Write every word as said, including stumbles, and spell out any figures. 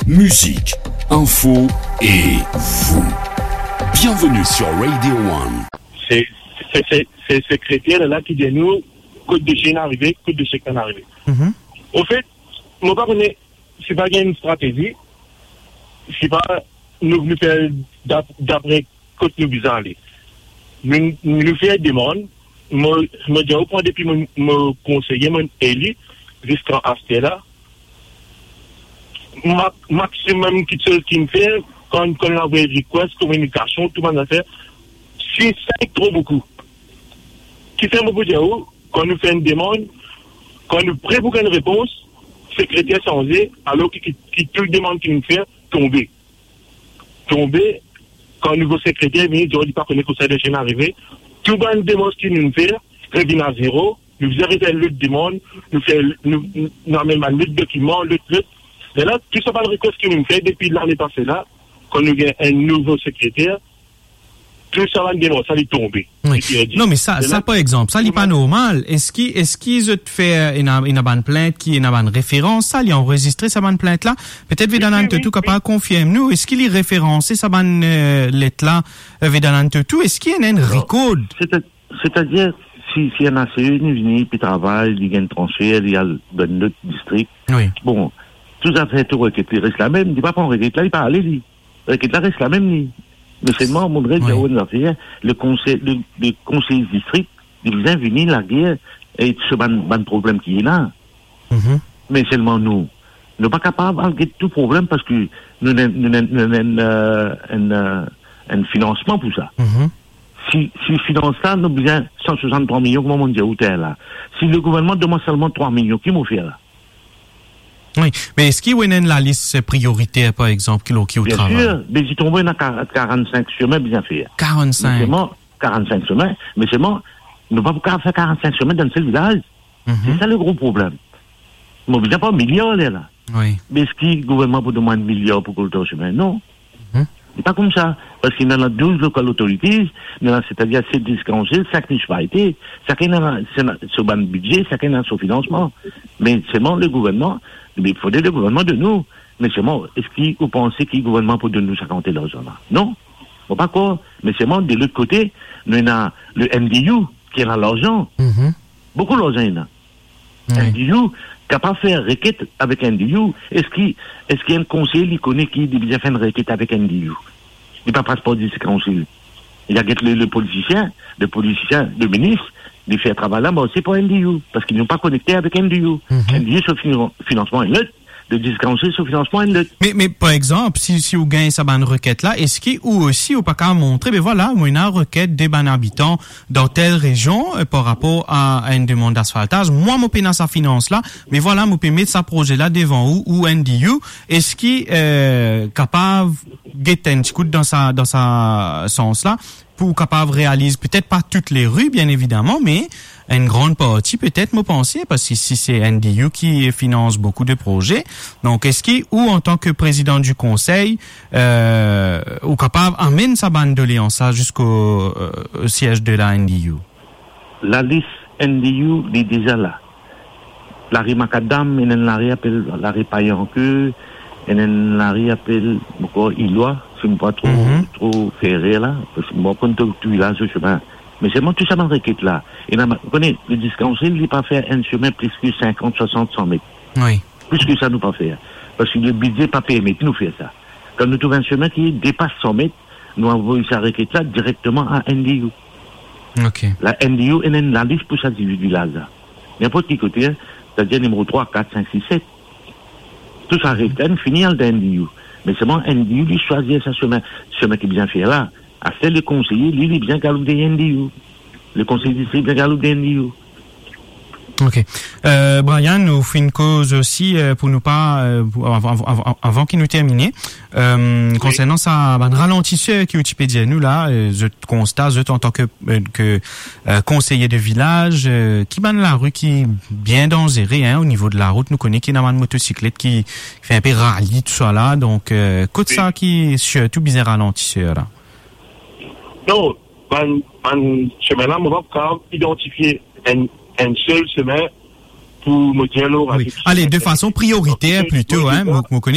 Musique, info et vous. Bienvenue sur Radio One. Se, se, se, se sekreter la ki dir nou kot dosie inn arive, kot dosie pa inn arive. Mhm. Anfet, mo pa kone si pa gagn enn stratezi, si pa nou, nou fer dap-, dapre kot nou bizin ale. Nou, nou fer demann, mo, mo dir ou, pran depi mo, mo konseye, mo eli, ziska aster la, ma-, maximum kiksoz ki nou fer, kan, kan nou avoy request, kominikasion, tou bann zafer, si sa tro boukou. Kifer mo pou dir ou, kan nou fer enn demann, kan nou pre pou gagn repons, sekreter sanze, alor ki, ki, ki tou demann ki nou fer, tonbe. Tonbe, kan nouvo sekreter vini, dir li pa kone kosa dosie inn arive, tou bann demars ki nou fer, revinn a zero, nou bizin refer lot demann, nou fer, nou, nou, nou amenn bann lot dokiman, lot, lot. Lerla, tou sa bann request ki nou fer depi lane pase la, kan nou gagn enn nouvo sekreter, tou sa bann demars, sa li tonbe. Wi. Li perdi. Non, me sa, Lerla, sa, par exanp, sa, li pa normal. Eski, eski zot fer, ena, ena bann plint ki, ena bann referans, sa, li anrezistre sa bann plint la? Petet Vedana Toto kapav konfirm nou, eski li referanse sa bann, eh, let la, eh, Vedana Toto, eski ena enn rikord? Seta-, setadir, si, si enn ACE li vini, li travay, li gagn transfer, li al dan enn lot distrik. Wi. Bon, tou zafer, tou reket li res lamem, li pa pran reket la, li pa ale li. Reket la res lamem li. Me selman, mo res dir ou enn zafer, le konsey, le, le konsey distrik, li bizin vini lager e so bann, bann problem ki ena. Mhm. Me selman nou, nou pa kapav al get tou problem parski nou ena, nou ena, nou ena enn, eh, enn, eh, enn finansman pou sa. Mhm. Si, si finans la, nou bizin san swasanntrwa milion, kouma mo dir ou talera la. Si le gouvernman donn mwa selman trwa milion, ki mo fer la? Wi, me eski ou ena enn lalis prioriter, par exanp, ki, lor ki ou travay? Biensir, Bezi Tonbo ena kar-, karannsink semin bizin fer. Karannsink? Me selman, karannsink semin, me selman, nou pa pou kapav fer karannsink semin dan enn sel vilaz. Mhm. Se sa le gro problem. Mo bizin pran miliar lerla. Wi. Me eski gouvernman pou donn mwa enn miliar pou kolekter semin? Non. Mhm. Se pa koumsa. Parski nou ena douz local authorities, nou ena, setadir set district council, sink municipalite, sakenn ena, se ena so bann bidze, sakenn ena so finansman. Me selman le gouvernman, li fode le gouvernman donn nou. Me selman, eski ou panse ki gouvernman pou donn nou sa kantite larzan la? Non. Mo pa krwar. Me selman, de lot kote, nou ena le N D U ki ena larzan. Mhm. Boukou larzan ena. Wi. N D U kapav fer reket avek N D U. Eski, eski enn konsey li kone ki li bizin fer enn reket avek N D U? Li pa pas par district council. Li a get le, le politisien, le politisien, le minis, li fer travay la, me se pa N D U, parski nou pa konekte avek N D U. Mhm. N D U so finan-, finansman enn lot, le district council so finansman enn lot. Me, me par exanp, si, si ou gagn sa bann reket la, eski ou osi ou pa kapav montre, be vwala, mo ena reket de bann abitan dan tel rezion, eh, par rapor a, a enn demann d'asfaltaz, mwa mo pena sa finans la, me vwala, mo pe met sa proze la devan ou, ou N D U, eski, eh, kapav get enn ti kout dan sa, dan sa sans la, pou kapav realiz petet pa tout le ri, bien evidaman, me enn gran parti petet, mo panse, parski si se N D U ki finans boukou de proze, donk eski ou, antan ke prezidan di konsey, eh, ou kapav amenn sa bann doleans la ziska, eh, siez de la N D U? Lalis N D U, li deza la. Lari Makadam, ena enn lari apel lari Payanke, ena enn lari apel ankor Ilwa, si mo pa tro, mhm, tro fer erer la, parski mo pa konn tou, tou vilaz so semin. Me selman tou sa bann reket la, ena, ou kone, le district council, li pa fer enn semin plis ki sinkant, swasant, san met. Wi. Plis ki sa, nou pa fer. Parski le bidze pa permet nou fer sa. Kan nou trouv enn semin ki depas san met, nou avoy sa reket la direkteman a N D U. Ok. La N D U ena enn lalis pou sa diz-wit vilaz la. Ninport ki kote, setadir nimero trwa, kat, sink, sis, set. Tou sa reket la, li fini al dan N D U. Me selman N D U, li swazir sa semin, semin ki bizin fer la. Aster le konseye, li, li bizin galoup de N D U. Le konsey distrik bizin galoup de N D U. Ok. Euh, Brian, nou finn koz osi, euh, pou nou pa, euh, pou, avan, avan, avan, avan ki nou termine, euh, wi, konsernan sa, bann ralantiser ki ou ti pe dir nou la, euh, zot konsta, zot antan ke, euh, ke, euh, konseye de vilaz, euh, ki bann lari ki bien danzere, hein, o nivo de larout, nou kone ki ena bann motosiklet ki, ki fer inpe rali, tou sa la, donk, euh, kot, wi, sa ki sirtou bizin ralantiser la? Non, bann, bann semin la, mo pa kapav idantifie enn, enn sel semin pou mo dir, wi, ale, de fason prioriter plito, hein, mo, mo kone